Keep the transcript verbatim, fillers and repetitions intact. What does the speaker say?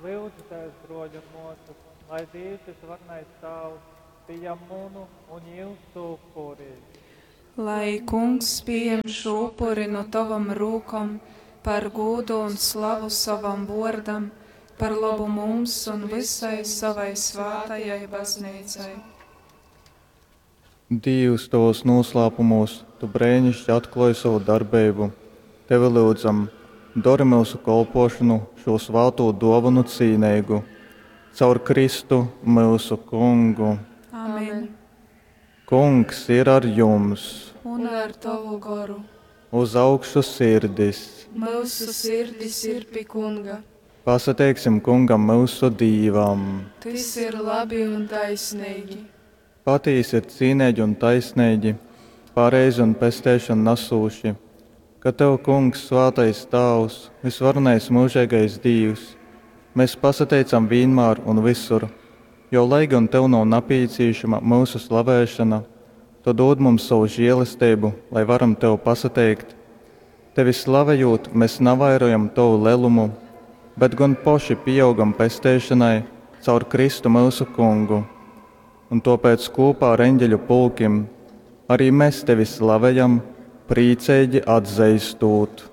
Lyudzitēs, bruoļi un muosys, lai Dīvs Vysvarenais Tāvs pījam munu un jiusu upuri. Lai Kungs pījam šū upuri nu tovom rūkom par gūdu un slavu sovam vuordam, par lobu mums un vysai sovai svātajai Bazneicai. Dīvs, tovūs nūslāpumūs tu breiniški atklōj sovu darbeibu. Tevi lyudzam, dori myusu kolpōšonu šū svātū dōvonu cīneigu. Caur Kristu, myusu Kungu. Amen. Kungs ir ar jums! Un ar tovu goru. Uz augšu sirdis! Myusu sirdis ir pi Kunga. Pasateiksim Kungam myusu Dīvam! Tys ir labi un taisneigi. Patīsi ir cīneigi un taisneigi, pareizi un pesteišonu nasūši, ka tev, Kungs, svātais Tāvs, vysvarenais myužeigais Dīvs, mes pasateicam vīnmār un vysur, jo, lai gon tev nav napīcīšama myusu slavēšona, tu dūd mums sovu želesteibu, lai varam tev pasateikt. Tevi slavejūt, mes navairojam tovu lelumu, bet gon poši pīaugam pesteišonai caur Kristu myusu Kungu. Un tōpēc kūpā ar eņģeļu pulkim ari mes tevi slavejam, prīceigi atzeistūt.